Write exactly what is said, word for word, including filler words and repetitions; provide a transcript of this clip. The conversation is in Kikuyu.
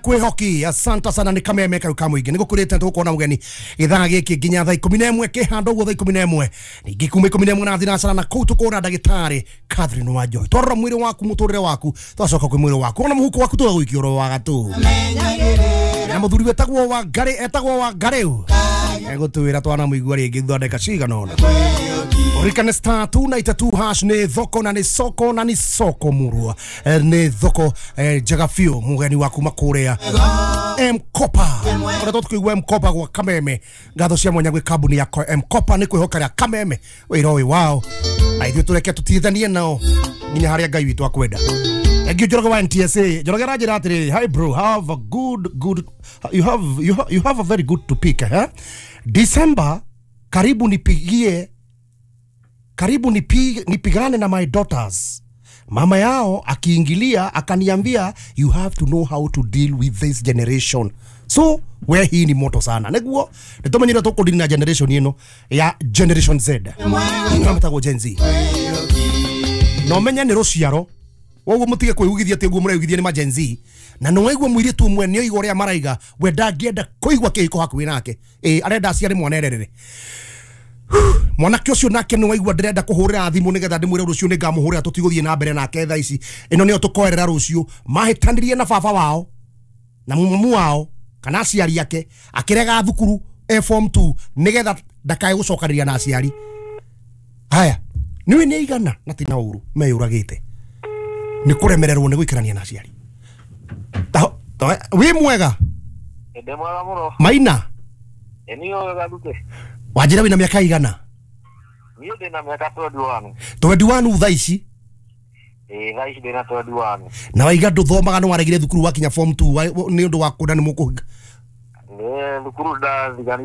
Kwihoki. Asante sana ni kameme kau kamwingi nigukurite tukuona mugeni githaa giki nginya thaa ikumi na imwe kihando guo thaa ikumi na imwe ningi kuma ikumi na imwe na thinacara na kuu tukura ndagitari Catherine Wanjohi. Twarora mwiri waku muturire waku twacoka kwi mwiri waku ona muhuko waku tugagwikia oro wa gatu na muthuri wetagwo wa Ngari etagwo wa Ngari egutwira twana muigua ringi thutha ndagika cigana ona. Urikane star two nine two hash ni thoko na ni soko na ni soko murua ni thoko njega biũ mugeni waku makuria M-Kopa ora tukuigua M-Kopa gwa Kameme. Ngatho cia mwanya gwi kambuni ya M-Kopa ni kwihoka ria Kameme wira uyu wao na ithuĩ tureke tutithanie nao nginya haria Ngai witũ akwenda. Thank you Njoroge wa N T S A. Njoroge aranjĩra atĩrĩrĩ, hi bro, have a good good you have you have, you have a very good topic eh? December karibu nipigie karibu nipige, nipigane na my daughters. Mama yao akiingilia akaniambia you have to know how to deal with this generation. So we hii ni moto sana. Neguo nitumenyire tukudini na generation ino ya generation Z. Ngametago Gen Z. No menya ni ruciaro. Woguo mutige kwigugithia ati uguo muraigithia ni ma Gen Z. Na no waigua mwiritu umwe ni oiga uria maraiga we ndangĩenda kuigua kĩhiko hakuhĩ nake. Eh arenda aciare mwana ererere. Mwanake ucio nake ni waigua ndirenda kuhurira thimu nigetha ndimwire rucio ni ngamuhurira tutiguthie na mbere nake thaa ici ino niyo tukoerera rucio. Mahitanirie na baba wao na mumu wao kana aciari ake akirega thukuru e form two nigetha ndakae gucokaniria na aciari. Haya niwe ni igana na tina uru meyuragite ni kuremererwo ni guikarania na aciari. Ta wi mwega ndi mwega muno maina eniyo gathute wanjira wina miaka igana. Niĩ ndĩna mĩaka twenty one. twenty one thaa ici? Ĩĩ thaa ici ndĩna twenty one. Na waiga ndũthomaga nĩ waregire thukuru wakinya form two nĩ ũndũ wa kũnda nĩ mũkũhinga? Nĩ thukuru ndathiganire.